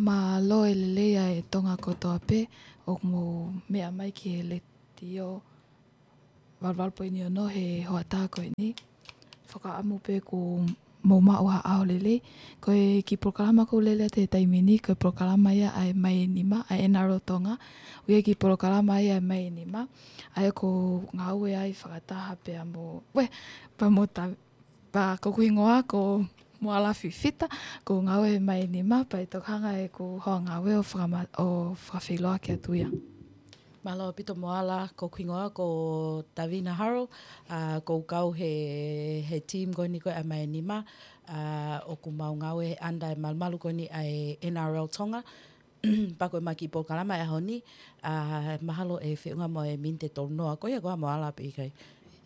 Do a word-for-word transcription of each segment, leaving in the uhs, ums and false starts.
Mālō e lelei ʻa e Tonga kotoa pē ʻoku mou meʻa mai ki he Letiō valu valu poini ono he hoʻatā ko eni. Fakaʻamu pē kuo mou maʻu ha ʻaho lelei. Ko e kiʻi polokalama ʻoku ou lele atu he taimi ni, ko e polokalama ia ʻa e Mai ʻe Nima, ʻa e N R L Tonga. ʻOku ʻi ai e kiʻi polokalama ia ʻa e Mai ʻe Nima, ʻa ia ʻoku ou ngāue ai fakataha pea mo, ue, pea mo Ta-, pea ko hoku hingoa ko Moala Fifita, ʻoku ou ngāue he Mai ʻe Nima, pea ʻi he tokanga ʻeku hoa ngāue ʻo fakama-, ʻo fakafeʻiloaki atu ia. Mālō ʻaupito Moala, ko hoku hingoa ko Tavina Harold, ʻa, ʻoku ou kau he, he team ko eni ko e ʻa e Mai ʻe Nima, ʻa, ʻoku mau ngāue he under e malumalu ko eni ʻa e N R L Tonga. Pea ko e ma kiʻi polokalama he ʻaho ni, ʻa, mahalo ʻe feʻunga mo e miniti ʻe tolu noa, ko ia ko ā Moala pe ʻikai?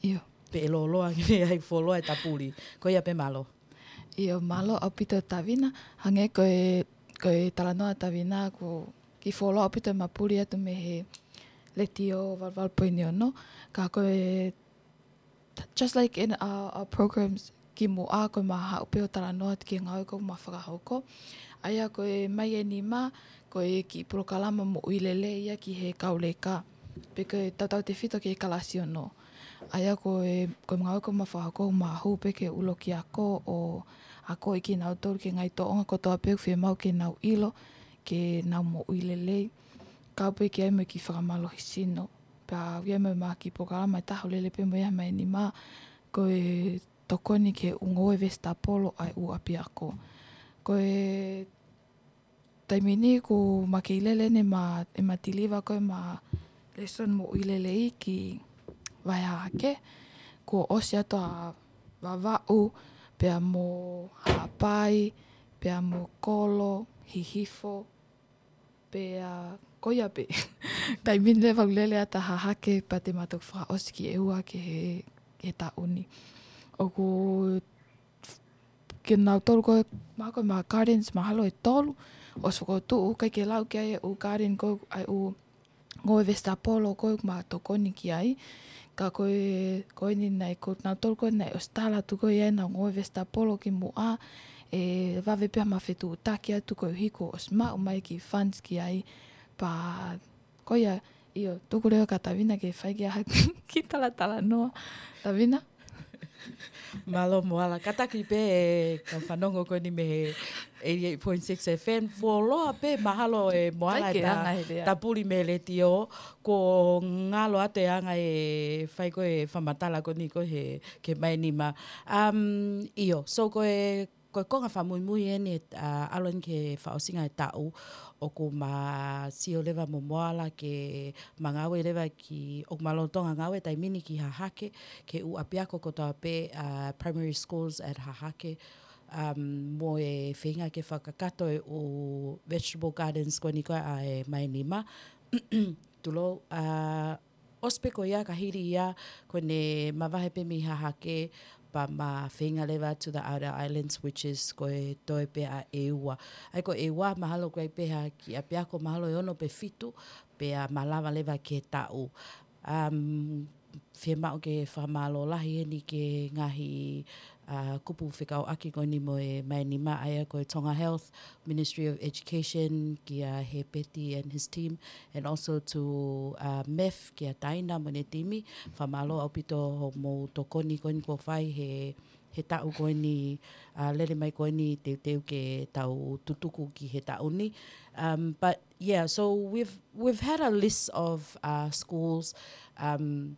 ʻIo. Pe ʻe lōloa ki ai fuoloa e tapuli. Ko ia pē mālō. ʻIo, mālō ʻaupito Tavina, hangē ko e, ko e talanoa Tavina, ko e kiʻi fuoloa ʻaupito e mapuli atu mei he Letiō valu valu poini ono, ka ko e, just like in our, our programs kimuʻa, ko e ma haʻu pē ʻo talanoa atu ki he ngāue ʻoku ma fakahoko. ʻA ia ko e Mai ʻe Nima, ko e kiʻi polokalama moʻui lelei ia ki he kau leka, pe ko e tautautefito ki he kalasi ono. ʻA ia ko e, ko e ngāue ʻoku ma fakahoko ʻoku ma hū pē ki he ʻuluaki ako ʻo akoʻi kinautolu ki he ngaahi tōʻonga kotoa pē ʻoku fiemaʻu ke nau ʻilo, ke nau moʻui lelei. Kau pē ki ai mo e kiʻi fakamālohisino. Pea ʻoku ʻi ai mo e ma kiʻi polokalama ʻe taha ʻoku lele pē mo ia he Mai ʻe Nima, ko e tokoni ki he ʻū ngoue vesitapolo ʻa e ʻū ʻapiako. Ko e taimi ni ʻoku ma kei lele eni ʻema, ʻema tiliva ko ē ʻema lesson moʻui lelei ki Vahe Hahake. Kuo ʻosi atu ʻa Vavaʻu, pea mo Haʻapai, pea mo Kolo, Hihifo, pea ko ia pē. Taimi ni leva ʻoku lele atu ʻa Hahake pea te ma toki fakaʻosi ki ʻEua ki he, he taʻu ni. ʻOku kinautolu ko ē, mahalo ko e ma gardens mahalo ʻe tolu, ʻosi fokotuʻu, ʻikai ke lau ki ai e ʻū garden ko ē, ʻa e ʻū ngoue vesitapolo ko ē ʻoku ma tokoni ki ai. Ka ko e, ko eni naʻe, ko kinautolu ko ē naʻe ʻosi tala atu ko ē ʻenau ngoue vesitapolo kimuʻa, ʻe vave pē ha ma fetuʻutaki atu koeʻuhi kuo ʻosi maʻu mai e kiʻi funds ki ai. Pea ko ia, ʻio, tuku leva kia Tavina ke fai ki ai ha kiʻi talatalanoa. Tavina? Mālō Moala, kātaki pē e kau fanongo ko eni mei he eighty-eight point six F M, fuoloa pē mahalo ʻe Moala ʻikai ke ta-, anga he lea, tapuli mei he Letiō, kuo ngalo atu e anga e fai ko ē e fakamatala ko eni ko ē he, ki he Mai ʻe Nima. Um, ʻio, so ko e, ko e konga fakamuimui eni, ʻa, ʻalu eni ki he fakaʻosinga e taʻu, ʻoku ma sio leva mo Moala ke ma ngāue leva ki, ʻoku ma lolotonga ngāue taimi ni ki Hahake, ki he ʻū ʻapiako kotoa pē, ʻa, primary schools at Hahake, um, mo e feinga ke fakakakato e ʻū vegetable gardens ko eni ko ē ʻa e Mai ʻe Nima. Tulou, ʻa, ʻosi pē ko ia ka hili ia, ko ʻene mavahe pē mei Hahake, pea ma feinga leva to the outer islands, which is ko e toe pē ʻa ʻEua. ʻA ia ko ʻEua, mahalo ʻoku ʻi ai pē ha kiʻi ʻapiako mahalo ʻe ono pe fitu, pea ma lava leva ki he taʻu. Um, fiemaʻu ke fakamālō lahi eni ki he ngaahi, ʻa, kupu fekauʻaki ko eni mo e Mai ʻe Nima, ʻa ia ko e Tonga Health, Ministry of Education, kia Hepeti and his team, and also to, uh, MEF, kia Taina mo ʻene timi, fakamālō ʻaupito hoʻomou tokoni ko eni kuo fai he, he taʻu ko eni, uh, lele mai ko eni teuteu ke tau tutuku ki he taʻu ni. Um, but yeah, so we've, we've had a list of, uh, schools, um,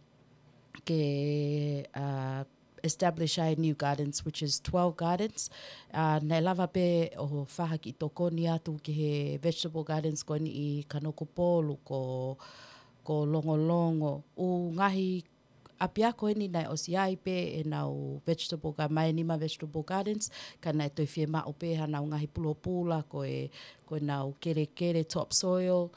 ke, uh, establish ʻa e new gardens, which is twelve gardens. Uh, naʻe lava pē ʻo fai ha kiʻi tokoni atu ki he vegetable gardens ko eni ʻi Kanokupolu, ko, ko Longolongo. ʻŪ ngaahi ʻapiako eni naʻe ʻosi ʻi ai pē ʻenau vegetable ga-, Mai ʻe Nima vegetable gardens, ka naʻe toe fiemaʻu pē haʻanau ngaahi pulopula, ko e, ko ʻenau kelekele topsoil,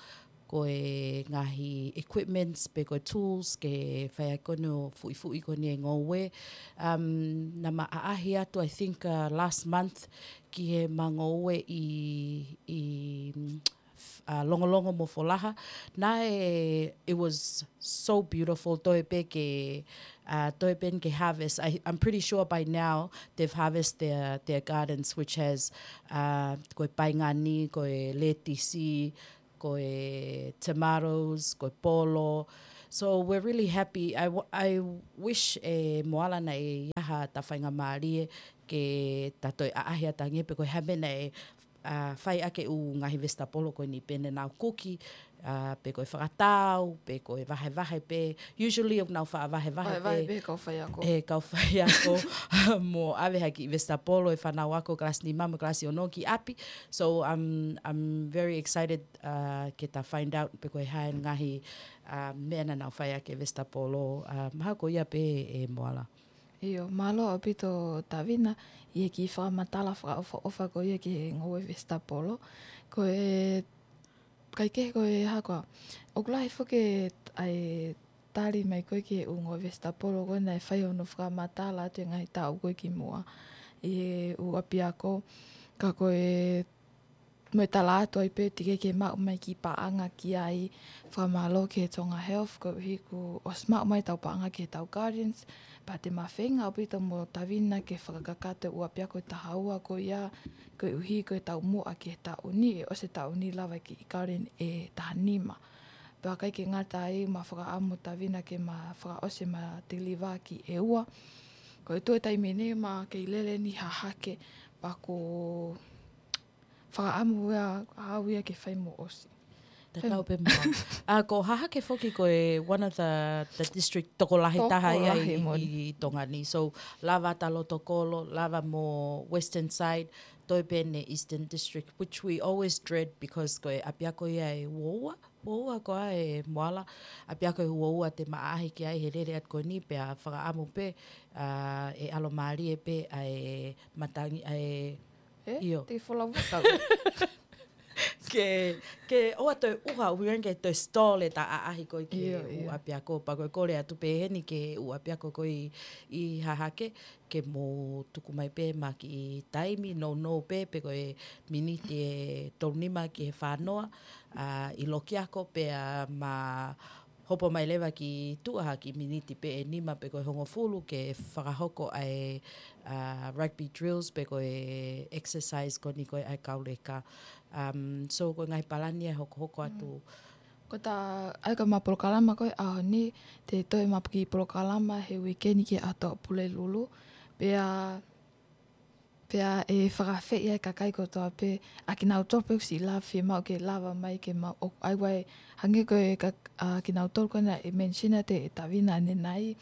ko e ngaahi equipments pe ko e tools ke fai ai ko eni ʻo fuʻifuʻi ko eni e ngoue. Um, naʻa ma ʻaʻahi atu, I think, uh, last month ki he ma ngoue ʻi, ʻi, mm, f-, uh, Longolongo mo Folaha. Naʻe, it was so beautiful, toe pē ke, uh, toe pē ke harvest. I, I'm pretty sure by now they've harvested their, their gardens, which has, uh, ko e paengani, ko e letisi, ko e tomatoes, ko e polo. So we're really happy. I, w- I wish ʻe Moala naʻe ʻi ai haʻata faingamālie ke ta toe ʻaʻahi atu ange pē ko e hā e meʻa naʻe, uh, fai ʻaki e ʻū ngaahi vesitapolo ko eni, pehē ni ʻenau kuki, uh, pe ko e fakatau, pe ko e vahevahe pē. Usually ʻoku nau faʻa vahevahe Vahevahe pē pē kau faiako. ʻE kau faiako mo ʻave ha kiʻi vesitapolo ʻe he fānau ako kalasi nima mo e kalasi ono ki ʻapi. So I'm, I'm very excited, uh, ke ta find out pe ko e hā e ngaahi, uh, meʻa naʻa nau fai ʻaki e vesitapolo. Uh, mahalo ko ia pē ʻe Moala. ʻIo, mālō ʻaupito Tavina, ʻi he kiʻi fakamatala fakaʻofoʻofa ko ia ki he ngoue vesitapolo. Ko e, kaikehe ko e hā koā, ʻoku lahi foki e, ʻa e tali mai ko ē ki he ʻū ngoue vesitapolo ko ē naʻe fai hono fakamatala atu he ngaahi taʻu ko ē kimuʻa ʻi he ʻū ʻapiako, ka ko e mo e tala atu ai pē teʻeki ke maʻu mai e kiʻi paʻanga ki ai. Fakamālō ki he Tonga Health koeʻuhi kuo ʻosi maʻu mai ʻetau paʻanga ki heʻetau gardens. Pea te ma feinga ʻaupito mo Tavina ke fakakakato e ʻū ʻapiako ʻe taha ua ko ia, koeʻuhi ko e taumuʻa ki he taʻu ni, ʻe ʻosi e taʻu ni lava e kiʻi garden ʻe taha nima. Pea ʻikai ke ngata ai, ma fakaʻamu Tavina ke ma fakaʻosi ʻema deliver ki ʻEua. Ko e tuʻu he taimi ni ma kei lele ni Hahake, pea ko fakaʻamu ia au ia ke fai mo ʻosi. Tatau pē mo au. ʻA, ko Hahake foki ko e one of the, the district tokolahi taha ia Tokolahi ʻi, moʻoni. ʻi Tonga ni. So, lava ʻa Lotokolo, lava mo Western Side, toe pē ʻeni Eastern District, which we always dread because ko e ʻapiako ia ʻe uaua, uaua ko ē ʻe Moala, ʻapiako ʻe uaua te ma ʻaʻahi ki ai he lele atu ko eni, pea fakaʻamu pē, ʻa, ʻe ʻalomālie pē ʻa e matangi, ʻa e ʻE, ʻio. Te folau kau. Ke, ke ʻoua toe ʻuha, ʻuhinga ke toe stall ʻeta ʻaʻahi ko ē ki he ʻIo, ʻū ʻio. ʻapiako, pea ko e kole atu pē heni ki he ʻū ʻapiako ko ē ʻi, ʻi Hahake, ke mou tuku mai pē ʻema kiʻi taimi, nounou pē, pe ko e miniti ʻe tolu nima ki he fā noa, ʻa, ʻi loki ako pea ma hopo mai leva ki tuʻa ha kiʻi miniti pē ʻe nima pe ko e hongofulu ke fakahoko ʻa e, ʻa, rugby drills pe ko e exercise ko eni ko ē ʻa e kau leka. Um, so ko e ngaahi palani ʻe hokohoko atu. Mm. Ko ʻeta, ʻa ia ko ʻema polokalama ko ē ʻaho ni, te toe ʻema kiʻi polokalama he uike ni ki he ʻaho Tuʻapulelulu. Pea Pea ʻe fakaafeʻi ʻa e kakai kotoa pē, ʻa kinautolu pē ʻoku siʻi lava, fiemaʻu ke lava mai ke ma ʻo ʻai wai, hangē ko e ka-, ʻa kinautolu ko ena ʻe mention atu ʻe Tavina ʻanenai,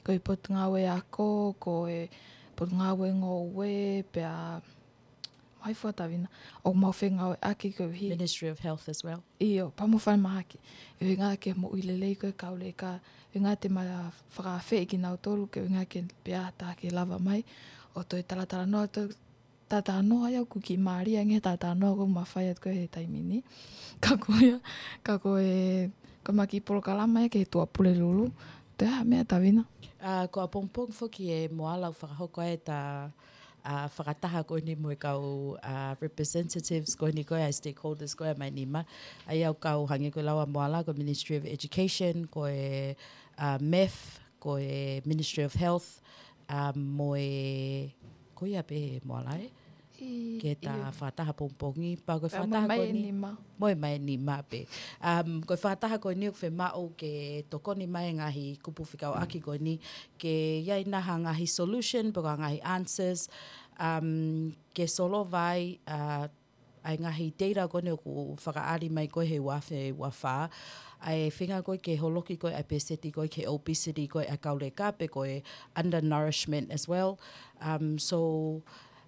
ko e Potungāue Ako, ko e Potungāue Ngoue, pea, mai fua Tavina, ʻoku mau fengāueʻaki koeʻuhi. Ministry of Health as well. ʻIo, pea mo falemahaki. ʻUhinga ke moʻui lelei ko ē kau leka, ʻuhinga te ma fakaafeʻi kinautolu ke ʻuhinga ke pea ta ke lava mai. ʻO toe talatalanoa, toe talatalanoa ia ʻoku kiʻi mālie ange he talatalanoa ʻoku ma fai atu ko ē he taimi ni. Ka ko ia, ka ko e, ko ʻema kiʻi polokalama ia ki he Tuʻapulelulu. Toe ʻai ha meʻa Tavina. ʻA, ko ʻapongipongi foki ʻe Moala ʻoku fakahoko ai ʻeta ʻa, fakataha ko eni mo e kau, ʻa, representatives ko eni ko ē ʻa e stakeholders ko ē ʻa e Maʻinima. ʻA ia ʻoku kau hangē ko e lau ʻa Moala ko e Ministry of Education, ko e, ʻa, MEF, ko e Ministry of Health, ʻa, mo e, ko ia pē Moala ē? ʻI, ke ta ʻio. Fakataha pongipongi, pea ko e Pea mo e fakataha ko eni. Maʻinima. Mo e Maʻinima pē. Um, ko e fakataha ko eni ʻoku fiemaʻu ke tokoni mai e ngaahi kupu fekauʻaki ko eni, ke ʻi ai nai ha ngaahi solution, pe ko ha ngaahi answers, um, ke solova ai, uh, ʻa e ngaahi data ko eni ʻoku fakaʻali mai ko ē he ua afe ua fā, ʻa e feinga ko ē ke holoki ko ē ʻa e peseti ko ē ki he obesity ko ē ʻa e kau leka pe ko e undernourishment as well. Um, so,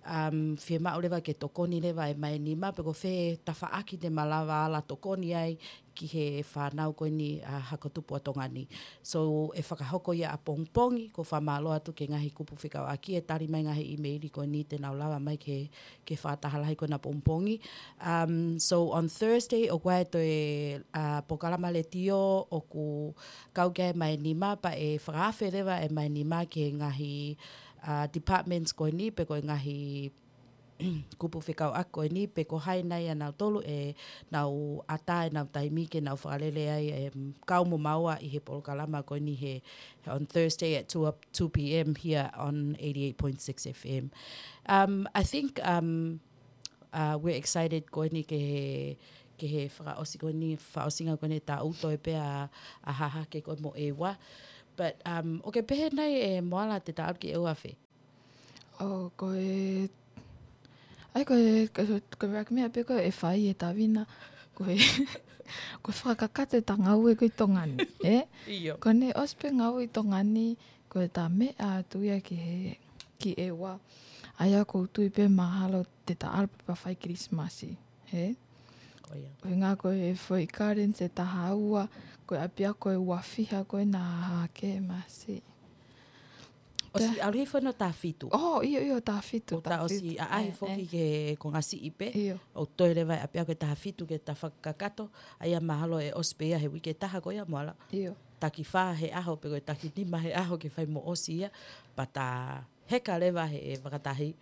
um, fiemaʻu leva ke tokoni leva e Maʻinima, pe ko fē tafaʻaki te ma lava ala tokoni ai ki he fānau ko eni ʻa e hako tupu ʻa Tonga ni. So, ʻe fakahoko ia ʻapongipongi, ʻoku ou fakamālō atu ki he ngaahi kupu fekauʻaki, ʻe tali mai e ngaahi ʻīmeili ko eni te nau lava mai ke, ke fakataha lahi ko ena pongipongi. Um, so, on Thursday, ʻoku ʻi ai e toe, ʻa, polokalama letiō ʻoku kau ki ai e Maʻinima, pea ʻe fakaafe leva e Maʻinima ki he ngaahi, ʻa, departments ko eni, pe ko e ngaahi kupu fekauʻaki ko eni pe ko hai nai ʻa nautolu ʻe nau ʻatā ʻenau taimi ke nau fakalele ai, em, kau mo maua ʻi he polokalama ko eni he, on Thursday at two, two p.m. here on eighty-eight point six F M. Um, I think, um, uh, we're excited ko eni ke he, ke he fakaʻosi ko eni, fakaʻosinga ko eni taʻu toe pē ʻa, ʻa Hahake ko ē mo ʻEua. But, um, ʻoku ke pehē nai ʻe Moala te ta ʻalu ki ʻEua fē? ʻO, ko e, ʻai ko e, ko e, ko e rak mea pē ko e fai e Tavina, ko e, ko e fakakakato ʻeta ngāue ko ē ʻi Tonga ni, ē? ʻIo. Ko ʻene ʻosi pē ngāue ʻi Tonga ni, ko ʻeta meʻa atu ia ki he, ki ʻEua. ʻA ia ʻoku ou tui pē mahalo te ta ʻalu pē pea fai Kilisimasi, ē? ʻIo. Ko e ngā ko e foʻi gardens ʻe taha ua, ko e ʻapiako ʻe ua fiha ko ē naʻa Hahake masi. ʻOsi ʻalu hifo ʻo taha fitu. ʻO, ʻio, ʻio, taha fitu, ʻO taha taha ʻosi fitu. ʻAʻahi ʻE, foki ʻe. Ke ko ngasi ipe. ʻIo. ʻO toe leva ʻapiako ʻe taha fitu ke ta fakakakato. ʻA ia mahalo ʻe ʻosi pē ia he uike ʻe taha ko ia Moala. ʻIo. Taki fā he ʻaho pe ko e taki nima he ʻaho ke fai mo ʻosi ia. Pea ta heka leva he fakatahi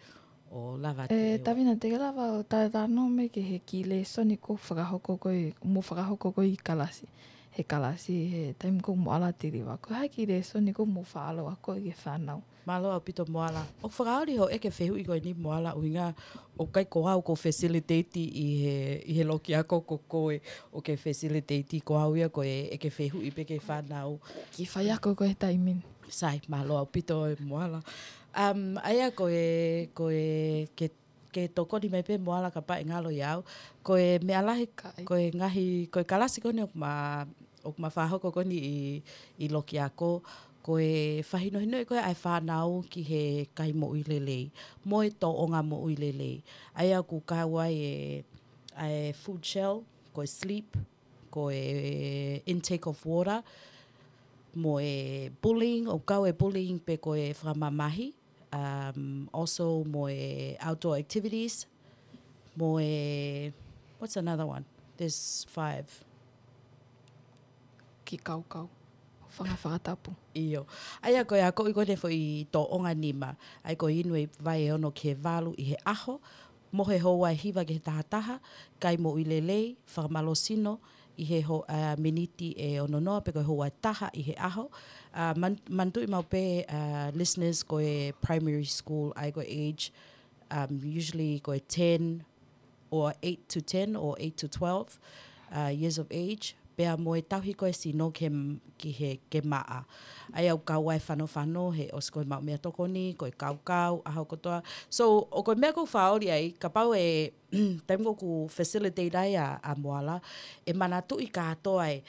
ʻo lava ʻe, ʻEua. Tavina te ke lava ʻo ta, ta nome ke he kiʻi lēsoni ʻoku fakahoko ko ē, mo fakahoko ko ē ʻi kalasi. He kalasi, he taimi ʻoku Moala tiliva. Ko e hā e kiʻi lēsoni ʻoku mo faʻa ʻalu ʻo ako ʻi he fānau. Mālō ʻaupito Moala. ʻOku fakaoli hoʻo ʻeke fehuʻi ko eni Moala ʻuhinga ʻoku ʻikai ko au ʻoku facilitate ʻi he, ʻi he loki ako ko koe ʻoku ke facilitate ko au ia ko e ʻeke fehuʻi pē ki he fānau. Kiʻi faiako ko ē he taimi ni. Sai, mālō ʻaupito ʻe Moala. Um, ʻa ia ko e, ko e, ke, ke tokoni mai pē Moala kapau ʻe ngalo ʻia au. Ko e meʻa lahi, Ka ʻai. Ko e ngaahi, ko e kalasi ko eni ʻoku ma, ʻoku ma fakahoko ko eni ʻi, ʻi loki ako. Ko e fakahinohinoʻi ko ē ʻa e fānau ki he kai moʻui lelei. Mo e tōʻonga moʻui lelei. ʻA ia ʻoku kau ai e, ʻa e food shell, ko e sleep, ko e intake of water, mo e bullying, ʻoku kau e bullying pe ko e fakamamahi, um, also mo e outdoor activities, mo e, what's another one? There's five. Kiʻi kaukau. Hūfanga fakatapu. ʻIo. ʻA ia ko e akoʻi ko eni foʻi tōʻonga nima. ʻA ia ko e inu e vai ʻe ono ki he valu ʻi he ʻaho. Mohe houa ʻe hiva ki he taha taha, kai moʻui lelei, fakamālohisino ʻi he ho-, ʻa, miniti ʻe ono noa pe ko e houa ʻe taha ʻi he ʻaho. ʻA, man-, manatuʻi maʻu pē, ʻa, listeners ko e primary school, ʻa ia ko e age, um, usually ko e ten or eight to ten or eight to twelve, ʻa, years of age. Pea mo e tauhi ko ē sino ke, ki he, ke maʻa. ʻA ia ʻoku kau ai e fanofano, he ʻosi ko e maʻu meʻatokoni, ko e kaukau, ʻaho kotoa. So, ʻoku ko e meʻa ʻoku ou fakaoli ai, kapau ʻe, taimi ʻoku facilitate ai ʻa, ʻa Moala, ʻe manatuʻi kātoa e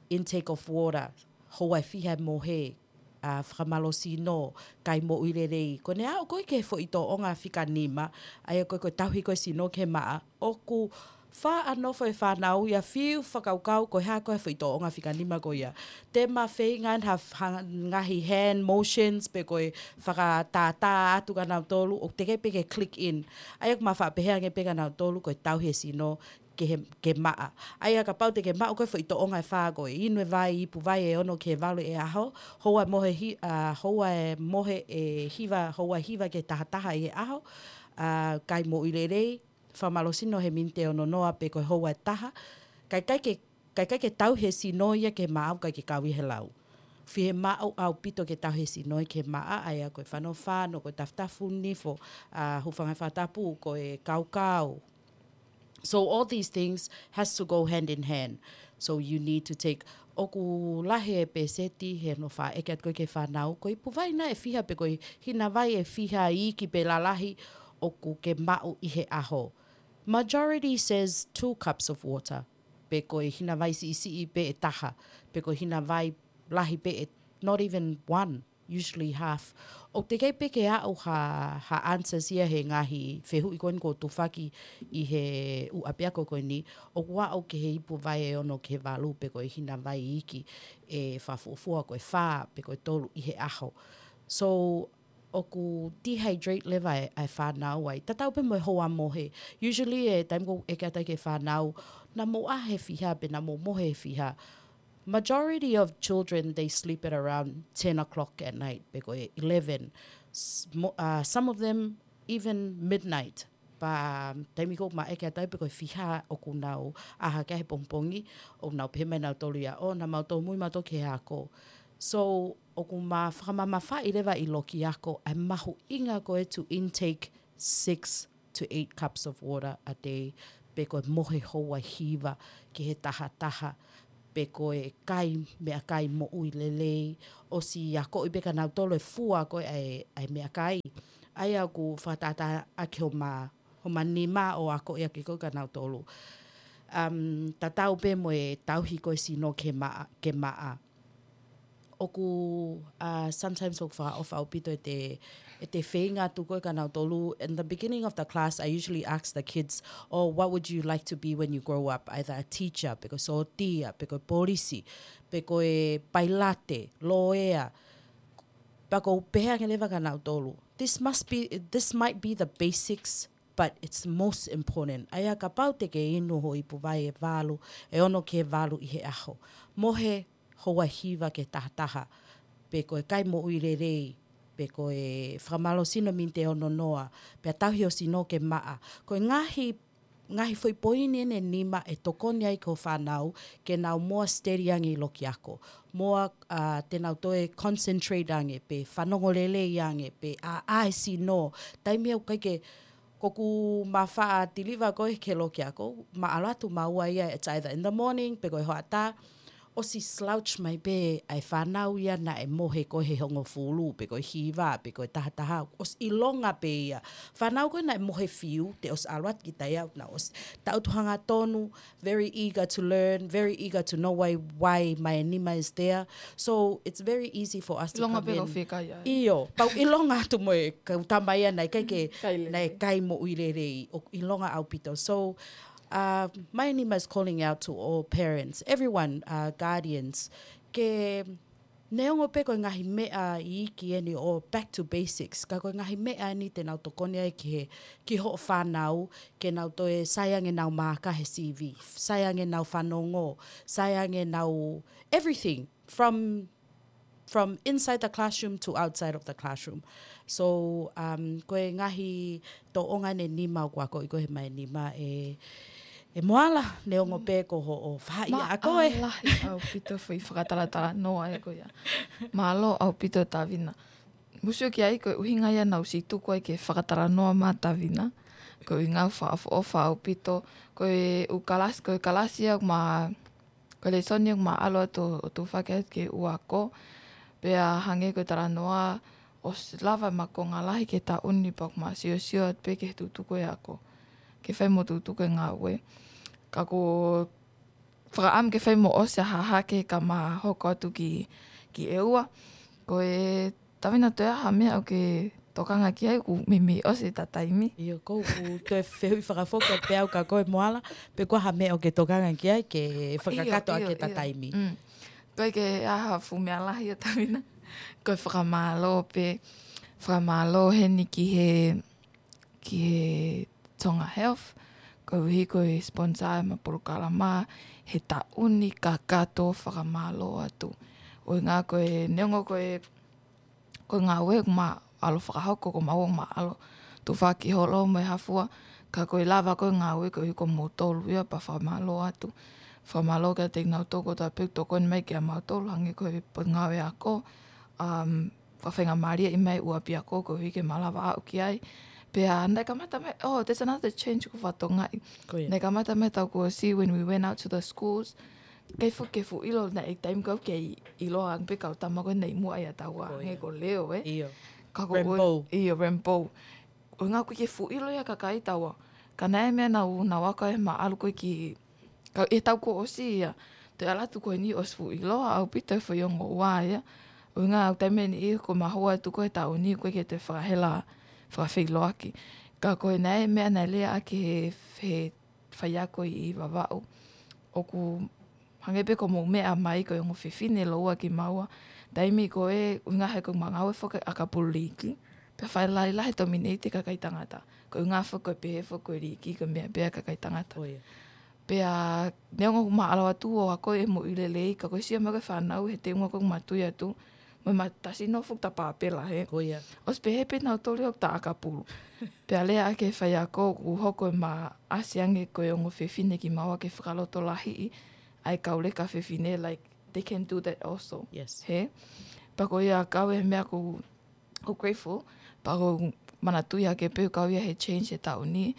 intake of water, houa ʻe fiha e mohe, ʻa, fakamālohisino, kai moʻui lelei. Ko ʻene aʻu ko ē ki he foʻi tōʻonga fika nima, ʻa ia ko ē ko e tauhi ko ē sino ki he maʻa, ʻoku faʻa nofo e fānau ia fiu fakakaukau ko e hā ko ē foʻi tōʻonga fika nima ko ia. Te ma feinga ha, ha ngaahi hand motions pe ko e fakatātā atu kia nautolu, ʻoku teʻeki pē ke click in. ʻA ia ʻoku ma faʻa pehē ange pē kia nautolu ko e tauhi e sino, ke he, ke maʻa. ʻA ia kapau te ke maʻu ko ē foʻi tōʻonga ʻe fā ko e inu e vai, ipu vai ʻe ono ki he valu ʻi he ʻaho, houa ʻe mohe hi-, ʻa, houa ʻe mohe ʻe hiva, houa ʻe hiva ki he taha taha ʻi he ʻaho, ʻa, kai moʻui lelei, fakamālohisino he miniti ʻe ono noa pe ko e houa ʻe taha, kae ʻikai ke, kae ʻikai ke tauhi e sino ia ki he maʻa ʻoku ʻikai ke kau ia he lau. Fiemaʻu ʻaupito ke tauhi e sino ia ki he maʻa, ʻa ia ko e fanofano, ko e tafutafu nifo, ʻa, hūfanga fakatapu, ko e kaukau, So all these things has to go hand in hand. So you need to take, ʻoku lahi e pēseti he ʻoku faʻa ʻeke atu ko ē ki he fānau, ko e ipu vai naʻe fiha pe ko e hina vai ʻe fiha iiki pe lalahi ʻoku ke maʻu ʻi he ʻaho. Majority says two cups of water, pe ko e hina vai siʻisiʻi pē ʻe taha, pe ko e hina vai lahi pē ʻe not even one. Usually half. ʻOku teʻeki pē ke aʻu ha, ha answers ia he ngaahi fehuʻi ko eni ʻoku tufaki ʻi he ʻū ʻapiako ko eni, ʻoku aʻu ki he ipu vai ʻe ono ki he valu pe ko e hina vai iiki ʻe fakafuofua ko e fā pe ko e tolu ʻi he ʻaho. So, ʻoku dehydrate leva e, e fānau ai. Tatau pē mo e houa mohe. Usually e taimi ʻoku ʻeke atu ai ki he fānau, naʻa mou ʻā he fiha pe naʻa mou mohe he fiha. Majority of children, they sleep at around ten o'clock at night, pe ko e eleven. S-, mo-, uh, some of them even midnight. Pea taimi ko ē ʻoku ma ʻeke atu ai pe ko e fiha ʻoku nau ʻā hake ai he pongipongi, ʻoku nau pehē mai nautolu ia, ʻo, naʻa mau tōmui mautolu ki he ako. So, ʻoku ma fakamamafaʻi leva ʻi loki ako ʻa e mahuʻinga ko ē to intake six to eight cups of water a day, pe ko e mohe houa hiva ki he taha taha, pe ko e kai meʻakai moʻui lelei, ʻosi akoʻi pē kia nautolu e fua ko ē ʻa e, ʻa e meʻakai. ʻA ia ʻoku fakatātā ʻaki homa, homa nima ʻo akoʻi ʻaki ko ē kia nautolu. Um, tatau pē mo e tauhi ko ē sino ke maʻa, ke maʻa. ʻOku, uh, sometimes ʻoku fakaʻofa ʻaupito ʻete, ʻete feinga atu ko ē kia nautolu. In the beginning of the class, I usually ask the kids, "Oh, what would you like to be when you grow up?" Either a teacher, pe ko e sōtia, pe ko e polisi, pe ko e pailate, loea. Pea ʻoku ou pehē ange leva kia nautolu, this must be, this might be the basics, but it's most important. ʻA ia kapau te ke inu ho ipu vai ʻe valu, ʻe ono ki he valu ʻi he ʻaho, mohe houa hiva ki he taha taha, pe ko e kai moʻui lelei, pe ko e fakamālō sino miniti ʻe ono noa, pea tauhi ho sino ke maʻa. Ko e ngaahi, ngaahi foʻi poini ʻeni ʻe nima ʻe tokoni ai ki ho fānau ke nau more steady ange ʻi loki ako. More, uh, te nau toe concentrate ange, pe fanongo lelei ange, pe ʻā, ʻā e sino. Taimi ʻoku ʻikai ke, ko ʻeku ma faʻa deliver ko ē ki loki ako, ma ʻalu atu maua ia, it's either in the morning, pe ko e hoʻatā, ʻosi slouch mai pē ʻa e fānau ia naʻe mohe ko ē he hongofulu, pe ko e hiva, pe ko e taha taha, ʻosi ʻilonga pē ia. Fānau ko ē naʻe mohe fiu, te ʻosi ʻalu atu ki tai au, naʻe ʻosi tautu hangatonu, very eager to learn, very eager to know why, why my nima is there. So it's very easy for us to ʻIlonga come pē in. Kau fie kai ai. ʻIo, pea u ʻilonga atu mo e kau tama ia naʻe ʻikai ke, kai lelei. Naʻe kai moʻui lelei, ʻoku ʻilonga ʻaupito. So, uh, my nima is calling out to all parents, everyone, uh, guardians, ke neongo pē ko e ngaahi meʻa iiki ʻeni ʻo back to basics, ka ko e ngaahi meʻa ʻeni te nau tokoni ai ki he, ki hoʻo fānau, ke nau toe sai ange ʻenau maaka he C V, sai ange ʻenau fanongo, sai ange ʻenau everything from, from inside the classroom to outside of the classroom. So, um, ko e ngaahi tōʻonga ʻeni nima ʻoku akoʻi ko ē he mai nima ʻe, ʻe Moala, neongo pē ko hoʻo faʻahi ako ē. Mālō lahi ʻaupito foʻi fakatalatalanoa ē ko ia. Mālō ʻaupito Tavina. Mou sio ki ai ko e ʻuhinga ia naʻa ku ʻosi tuku ai ke fakatalanoa mai Tavina. Ko e ʻuhinga ʻoku fakaʻofoʻofa ʻaupito. Ko e ʻū kalasi, ko e kalasi ia ʻoku ma, ko e lēsoni ʻoku ma ʻalu atu ʻo tufaki atu ki he ʻū ako. Pea hangē ko e talanoa ʻosi lava ma konga lahi ki he taʻu ni pea ʻoku ma siosio atu pē ki he tutuku e ako. Ke fai mo tutuku e ngāue. Ka ko fakaʻamu ke fai mo ʻosi ʻa Hahake ka ma hoko atu ki, ki ʻEua. Ko e Tavina, toe ʻi ai ha meʻa ʻoku ke tokanga ki ai, ʻoku meimei ʻosi ʻeta taimi. ʻIo, ʻoku ou toe fehuʻi fakafoki pē au kia koe Moala, pe ko e hā ha meʻa ʻoku ke tokanga ki ai ke fakakakato ʻaki ʻeta taimi. Mm. Ko e ke ʻi ai ha fuʻu meʻa lahi ʻa Tavina. Ko e fakamālō pē, fakamālō heni ki he ki he Tonga Health, koeʻuhi ko e sponsor ʻema polokalama he taʻu ni kakato, fakamālō atu. ʻUhinga ko e neongo ko e, ko e ngāue ʻoku ma ʻalu fakahoko, ko maua ʻoku ma ʻalu tufaki holo mo e hafua, ka ko e lava ko e ngāue koeʻuhi ko moutolu ia pea fakamālō atu. Fakamālō kiate kinautolu kotoa pē ʻoku tokoni mai kia mautolu hangē ko e Potungāue Ako, um, fakafaingamālieʻi mai ʻū ʻapiako koeʻuhi ke ma lava aʻu ki ai. Pea naʻe kamata mai, oh, there's another change ʻoku fakatokangaʻi. Ko ia. Naʻe kamata mai ʻetau kuo ʻosi when we went out to the schools. ʻIkai foki ke fuʻu ʻilo naʻe taimi kau ke ʻiloa ange pē kau tama ko ē naʻe ʻi muʻa ʻia taua hangē ko Leo, ē? ʻIo. Ka ko Rainbow. ʻIo, Rainbow. ʻUhinga ʻoku ʻikai ke fuʻu ʻilo ia kakai taua. Ka naʻe meʻa naʻa nau, nau ako ai he ma ʻalu ko ē ki Ka ʻi he taʻu kuo ʻosi ia, toe ʻalu atu ko eni ʻosi fuʻu ʻiloa ʻaupito e foʻi ongo ua ia. ʻUhinga ʻoku taimi ʻe niʻihi ko e mahua atu ko e taʻu ni ʻoku ʻikai ke toe fakahela, fakafeʻiloaki. Ka ko e naʻe meʻa naʻe lea ʻaki he, he faiako ʻi Vavaʻu. ʻOku hangē pē ko hoʻomou meʻa mai ko e ongo fefine lōua kimaua. Taimi ko ē ʻuhinga he ko e ma ngāue foki ʻakapulu liiki. Pea faʻa lahilahi e tominate e kakai tangata. Ko e ʻuhinga foki ko e pehē foki ko e liiki ko e meʻa pē ʻa e kakai tangata. ʻO ia. Pea neongo ʻoku ma ʻalu atu ʻo ako e moʻui lelei, ka ko e sio mai ko ē fānau he teunga ko ē ʻoku ma tui atu, mo e mā tasi nofo ʻoku ta pāpela, hē. Ko ia. ʻOsi pehē pē nautolu ia ʻoku ta ʻakapulu. Pea lea ʻaki e faiako ʻoku hoko e maʻasi ange ko e ongo fefine kimaua ke fakalotolahiʻi ʻa e kau leka fefine, like, they can do that also. Yes. Hē? Pea ko ia kau e meʻa ʻoku, ʻoku grateful, pea ʻoku ou manatuʻi hake pē ʻoku kau ia he change he taʻu ni,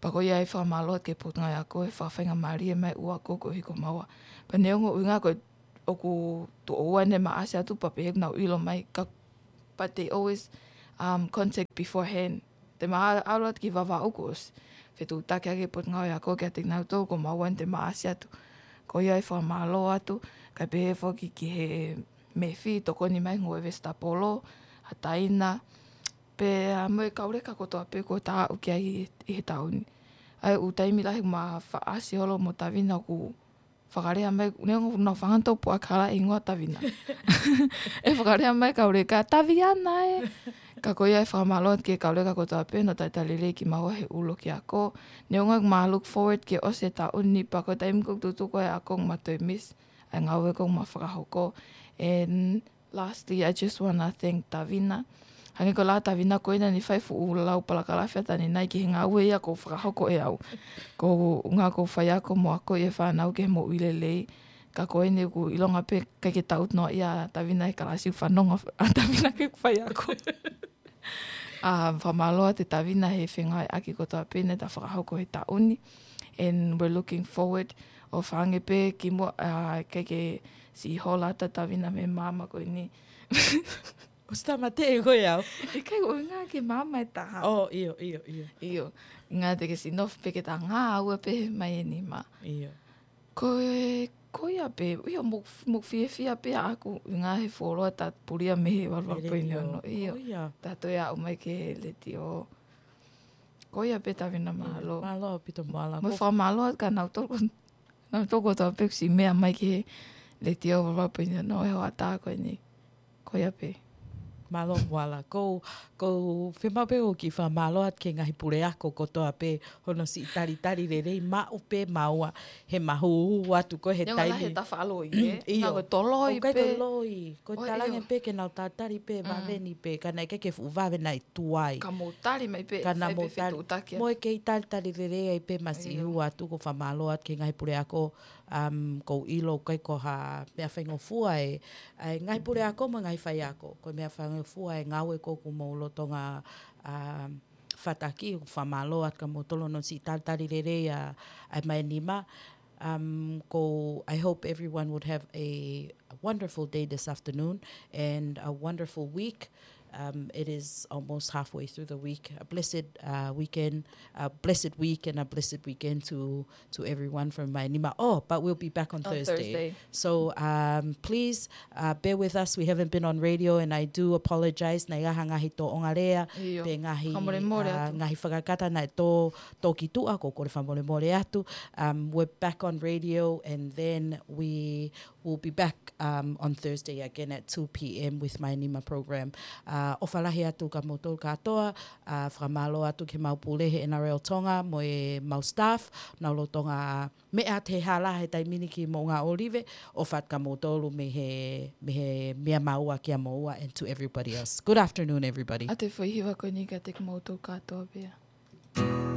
pea ko ia e fakamālō atu ki he Potungāue Ako he fakafaingamālie mai ʻo ako koeʻuhi ko maua. Pea neongo ʻuhinga ko e ʻoku tuʻo ua ʻene maʻasi atu pea pehē ʻoku nau ʻilo mai ka, but they always, um, contact beforehand. Te ma ʻalu atu ki Vavaʻu kuo ʻosi fetuʻutaki ʻaki e Potungāue Ako kiate kinautolu ko maua ʻeni te maʻasi atu. Ko ia e fakamālō atu, kae pehē foki ki he Mefi, tokoni mai ngoue vesitapolo, ʻa Taina, pea mo e kau leka kotoa pē kuo ta aʻu ki ai ʻi he, ʻi he taʻu ni. ʻA ia ʻoku taimi lahi ma faʻasi holo mo Tavina ʻoku fakalea mai, neongo ʻoku nau fanga tau puʻakala ʻi ngoa Tavina. ʻE fakalea mai kau leka, "Taviana ē." Ka ko ia e fakamālō atu ki he kau leka kotoa pē, nau talitali lelei kimaua he ʻuluaki ako. Neongo ʻoku ma look forward ke ʻosi e taʻu ni pea ko e taimi ko ē ʻoku tutuku ai e ako ʻoku ma toe miss ʻa e ngāue ko ē ʻoku ma fakahoko. And lastly, I just wanna thank Tavina. Hangē ko e lea ʻa Tavina ko ena naʻa ne fai fuʻu lau palakalafi ʻa Tavina ki he ngāue ia ʻoku fakahoko ʻe au. Ko e ʻuhinga ʻoku ou faiako mo akoʻi e fānau ki he moʻui lelei. Ka ko eni ʻoku ʻilonga pē ʻikai ke tau noa ia Tavina he kalasi, fanongo ʻa Tavina ki heʻeku faiako. ʻA, fakamālō atu Tavina he fengāueʻaki kotoa pē naʻa ta fakahoko he taʻu ni. And we're looking forward ʻo fai ange pē kimuʻa, ʻa, ʻikai ke siʻi hola atu Tavina mei māmani ko eni. ʻOsi tāmateʻi koe au. ʻIkai, ko e ʻuhinga ke māmani e taha. Oh, ʻio, ʻio, ʻio. ʻIo, ngata ke siʻi nofo pē ke ta ngāue pē mai eni mā. ʻIo. Ko e, ko ia pē, ʻio, mo, mo fiefia pē ʻaku, ʻuhinga he fuoloa ta pulia mei he valu valu poini ono. Letiō. ʻIo. Ko ia. Ta toe aʻu mai ki he letiō. Ko ia pē Tavina, mālō. Mālō ʻaupito Moala. Mo e fakamālō atu kia nautolu ko, nautolu kotoa pē kuo siʻi meʻa mai ki he letiō valu valu poini ono he hoʻatā ko eni. Ko ia pē. Mālō Moala. ʻOku ou, ʻoku ou fiemaʻu pē ʻo kiʻi fakamālō atu ki he ngaahi puleako kotoa pē hono siʻi talitali lelei maʻu pē maua he mahūhū atu ko ē he taimi. Neongo lahi e tafaʻaki loi, ē? ʻIo. Ngā ko e toloi pē. ʻOku ʻikai ko e loi. Ko e talange pē ke nau talitali pē, vave ni pē, ka naʻe ʻikai ke fuʻu vave naʻe tuai. Ka mou tali mai pē, ka naʻa mou tali. Mo e kei talitali lelei ai pē masiʻi hū atu, ʻoku ou fakamālō atu ki he ngaahi puleako, um, ʻoku ou ʻilo ʻoku ʻikai ko ha meʻa faingofua e, e ngaahi puleako mo e ngaahi faiako. Ko e meʻa faingofua e ngāue ko ē ʻoku mou lolotonga, um, fataki, ʻoku ou fakamālō atu kia moutolu hono siʻi talitali lelei ʻa, ʻa e Mai Nima. Um, ko, I hope everyone would have a wonderful day this afternoon and a wonderful week. Um, it is almost halfway through the week. A blessed, uh, weekend, a blessed week and a blessed weekend to, to everyone from Mai Nima. Oh, but we'll be back on Thursday. On Thursday. So, um, please, uh, bear with us. We haven't been on radio and I do apologize. Naʻe ʻi ai ha ngaahi tōʻonga lea, ʻio, pe ngaahi, fakamolemole atu, uh, ngaahi fakakata naʻe tō, tō ki tuʻa, ʻoku ou kole fakamolemole atu. Um, we're back on radio and then we will be back, um, on Thursday again at two p.m. with Mai Nima program. Uh, ʻofa lahi atu kia moutolu kātoa, uh, fakamālō atu ki he mau pule he N R L Tonga mo e mau staff, nau lolotonga meʻa atu he hala he taimi ni ki Moʻunga ʻŌlive, ʻofa atu kia moutolu mei he, mei he meʻa maua kia moua and to everybody else. Good afternoon, everybody. ʻA e foʻi hiva ko eni kiate kimoutolu kātoa pē.